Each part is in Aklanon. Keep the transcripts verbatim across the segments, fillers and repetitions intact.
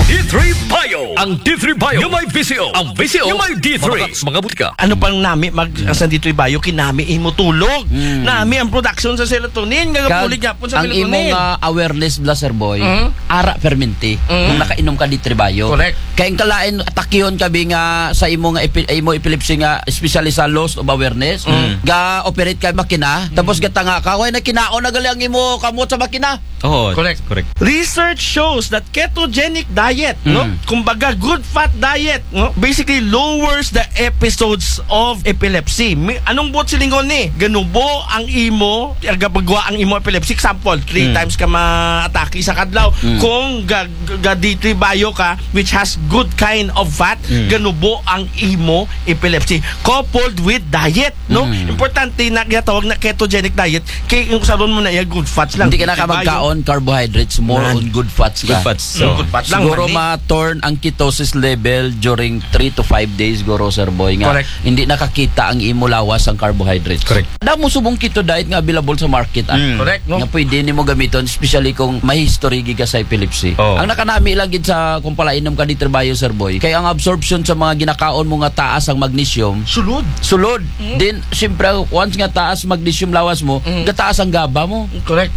D three Bio. Ang D three Bio nga may V C O. Ang V C O nga may D three. Mga, mga butika. Ano pang nami mag sa D three Bio, kinami imo tulog. Nami ang production sa serotonin nga gapulit nga pon sa ang imo melatonin. Nga awareness bla, sir boy, ara perminti kung nakainom ka D three Bio. Correct. Kay ang kalain atakihon ka bi nga sa imo nga epi-, imo epilepsy nga especially sa loss of awareness, ga operate ka makina, tapos gatanga ka, way na kinaon na gali ang imo kamot sa makina. Oo, correct. Correct. Research shows that ketogenic diet, no? Kumbaga, good fat diet, no? Basically, lowers the episodes of epilepsy. Mi-, anong buot silingon ni? Ganubo ang imo, gapagwa ang imo epilepsy. Example, three times ka maatake sa kadlaw. Kung ga, ga D three Bio ka, which has good kind of fat, ganubo ang imo epilepsy. Coupled with diet, no? Importante na ginatawag na ketogenic diet. Kay yung saron mo na iya, good fats lang. Hindi ka na ka magkaon carbohydrates, more on good fats ka. Good fats. So, good fats lang, siguro mali. Ma-turn ang ketosis level during three to five days, siguro, sir boy, nga. Correct. Hindi nakakita ang imo lawas ang carbohydrates. Correct. Damo subong keto diet nga available sa market, ah. Correct, no? Nga pwede nimo gamiton, especially kung may history gid ka sa epilepsy. Oh. Ang nakanami lang gid sa kung palainom ka D three Bio, sir boy, kay ang absorption sa mga ginakaon mo nga taas ang magnesium, sulod. Sulod. Then, siyempre, once nga taas magnesium lawas mo, gataas ang gaba mo. Correct.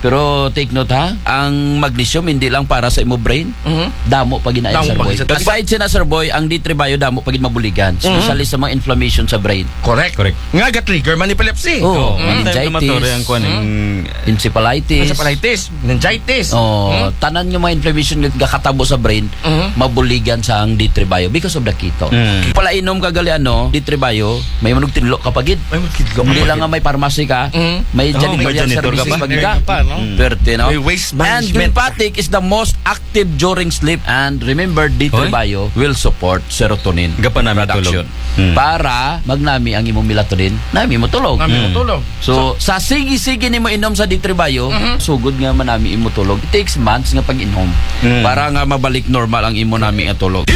Pero take note ha, ang magnesium hindi lang para sa imo brain. Damo pa ginayon, sir boy. Aside siya na, sir boy, ang D three Bio damo pa gid mabuligan, especially sa mga inflammation sa brain. Correct. Correct. Nga ga-trigger man epilepsy. Oh, meningitis. Inflammatory ang kuwan, eh. Encephalitis. Encephalitis, meningitis. Oh, tanan nga mga inflammation nga gakatabo sa brain, mabuligan sa ang D three Bio because of the keto. Palainom ka gali ano, D three Bio, may manugtinlo ka pa gid. May manugtinlo ka pa gid. Hindi lang nga may pharmacy ka, may janitorial services pa gid ka. Perte, no? May waste management. And Glymphatic is the most active during sleep. And remember, D three Bio will support serotonin production. Para magnami ang imong melatonin, nami mo tulog. Nami mo tulog. So, sa sige-sige nimo inom sa D three Bio, sugod nga manami imo tulog. It takes months nga pag-inom para nga mabalik normal ang imo nami nga tulog.